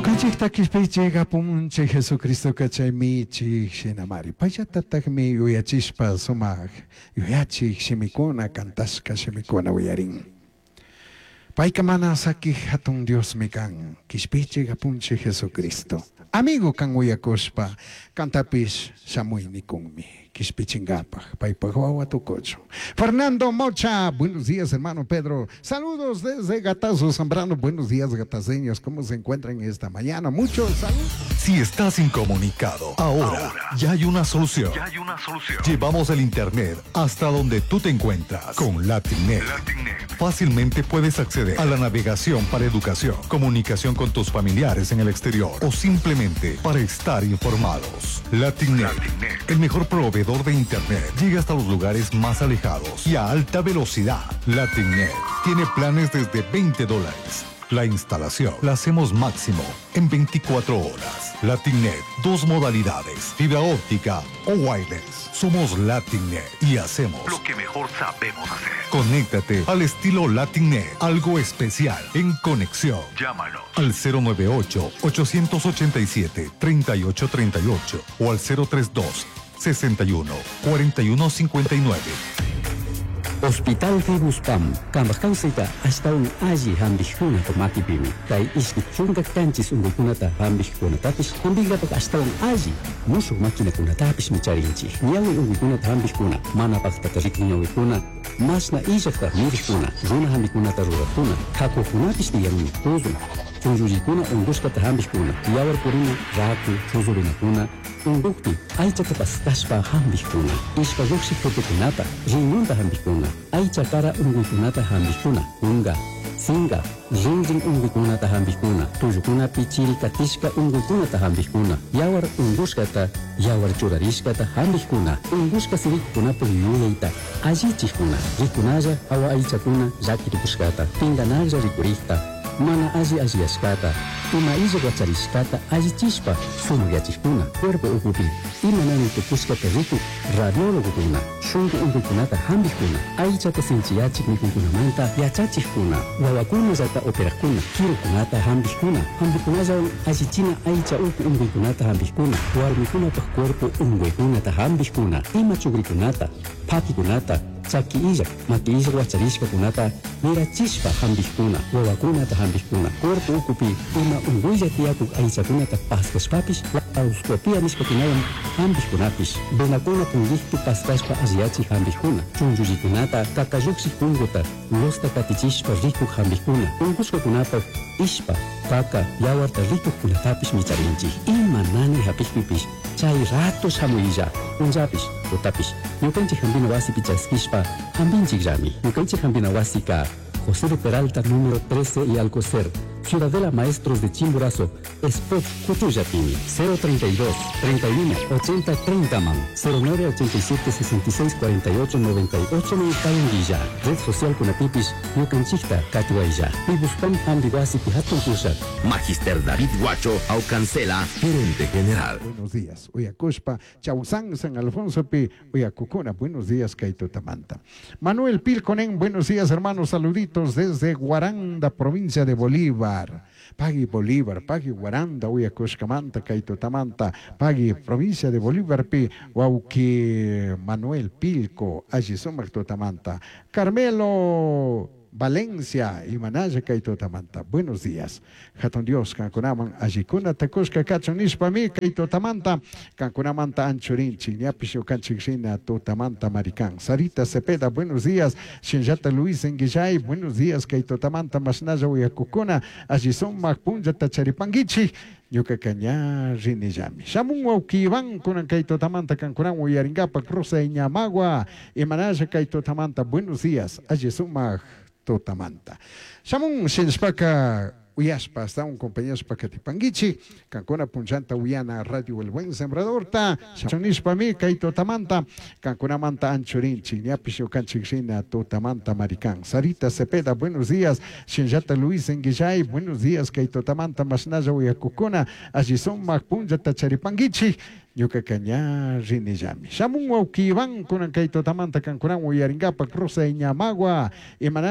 Ñukanchikta kishpiychik apunchik Jesucristoka chay michik shinamari. Payllatataqmi yuyachishpa sumaq yuyachik shimikuna kantashka shimikuna uyarin. Payka mana sakik hatun Diosmi kan, kishpiychik apunchik Jesucristo. Amigo kan uyakushpa, kantapish shamuy nikunmi, kishpichinkapaj, paypaj wawa tukuchun. Fernando Mocha, buenos días hermano Pedro. Saludos desde Gatazo Zambrano. Buenos días gataceños, ¿cómo se encuentran esta mañana? Muchos saludos. Si estás incomunicado, ahora, ya hay una solución. Ya hay una solución. Llevamos el internet hasta donde tú te encuentras con LatinNet. LatinNet. Fácilmente puedes acceder a la navegación para educación, comunicación con tus familiares en el exterior o simplemente para estar informados. LatinNet, LatinNet. el mejor proveedor de internet, llega hasta los lugares más alejados y a alta velocidad. LatinNet tiene planes desde 20 dólares. La instalación la hacemos máximo en 24 horas. LatinNet, dos modalidades, fibra óptica o wireless. Somos LatinNet y hacemos Lo que mejor sabemos hacer. Conéctate al estilo LatinNet, algo especial en conexión. Llámanos. Al 098-887-3838 o al 032 61 41 59. Hospital Fibuspam, kambaj kawsayta ashtawan alli hampikkunata makipimi. Kay ishki chunka kanchis unkuykunata hampikkunatapish hampinkapak ashtawan alli mushuk maquinakunatapishmi charinchik. Ñawi unkuykunata hampikkuna, mana paktata rikun ñawikuna, mashna illakta mirikkuna, runa hampikunata rurakkuna, kakukunapish tiyanmi, tuzun, chunllullikuna unkushkata hampikkuna, yawar purina, raku, chuzurinakuna, unkukpi aychata paskashpa hampikkuna, ishpa lluqshik tutukunata, riñonta hampikkuna, aycha kara unkuykunata hampikkuna, kunka, sinka, rinrin unkuykunata hampikkuna, tullukunapi chiri katishka unkuykunata hampikkuna, yawar unkushkata, yawar churarishkata hampikkuna, unkushka sirikukunapuk yuyayta allichikkuna, rikunalla hawa aychakuna llakirikushkata, pinkanaklla rikurikta, mana alli alliyashkata, ima illak wacharishkata allichishpa sumakyachikkuna, cuerpo ukupi ima nanay tukushkata rikuk radiólogokuna, shunku unkuykunata hampikkuna, aychata sinchiyachik mikuykunamanta yachachikkuna, wawakunallata operakkuna, kirukunata hampikkuna, hampikunallawan allichina aycha uku unkuykunata hampikkuna, warmikunapak cuerpo unkuykunata hampikkuna, ima chukrikunata, phakikunata, chaki illak, maki illak wacharishkakunata mirachishpa hampikkuna, wawakunata hampikkuna, cuerpo ukupi ima unkuylla tiyakuk aychakunata paskashpapish laparoscopia nishkakunawan hampikkunapish, venakuna punkikpi paskashpa alliyachik hampikkuna, chunllullikunata, kakalluksik punkuta, losta katichishpa rikuk hampikkuna, unkushkakunapak ishpa, kaka, yawarta rikukkunatapish micharinchik. Ima nanay hapikpipish chay rato shamuylla, punllapish, tutapish, ñukanchik hampina wasipi chaskishpa hampinchikllami. Ñukanchik hampina wasika José de Peralta, número 13 y Alcocer, Ciudadela Maestros de Chimborazo, Spot Cuchuyapimi, 032 31 80 30 man, 09 87 66 48 98 man Red social Kunapipis, Ñukanchikta, Katuaylla, Pibuspam Hambiwasi Pihatun Kushak. Magister David Guacho Aucancela, gerente general. Buenos días. Uyakushpa, Chausán, San Alfonso pi, Uyakukuna. Buenos días, Kaitutamanta. Manuel Pilconen, buenos días, hermanos. Saluditos desde Guaranda, provincia de Bolívar. Pagui Bolívar, Pagui Guaranda, Uyakushkamanta, Kaitutamanta, Pagui, provincia de Bolívar, pi, Wauki Manuel Pilco, alli sumak tutamanta. Carmelo Valencia y Manaya Kaitotamanta. Buenos días. Hatun Dios, kankunaman allikuna takushka kachun nishpami Kaitotamanta, kankunamanta anchurinchi, ñapish ñukanchik tutamanta maricán. Sarita Cepeda, buenos días. Shinllata Luis Enguillay, buenos días. Kaitotamanta mashnalla uyakukuna, alli sumak punllata charipanguichik. Ñuka ña rinillami. Shamun wawki Iván kunan kay tutamanta kankunan uyarinkapak Rosa Iñamagua imanalla kay tutamanta buenos días alli sumak tutamanta. Shamun shinshpaka uyashpa hasta un compañero katipanguichi kankuna punchanta uyana radio El Buen Sembradorta shunishpami kay tutamanta kankunamanta anchurinchi ñapish ñukanchik rina tutamanta maricán. Sarita Cepeda, buenos días. Shinllata Luis Enguillay, buenos días. Kay tutamanta mashnalla uyakukuna alli sumak punllata charipanguichi ñuka ña rinillami. Shamun wawki Iván kunan kay tutamanta kankunan uyarinkapak Rosa Iñamagua imanalla.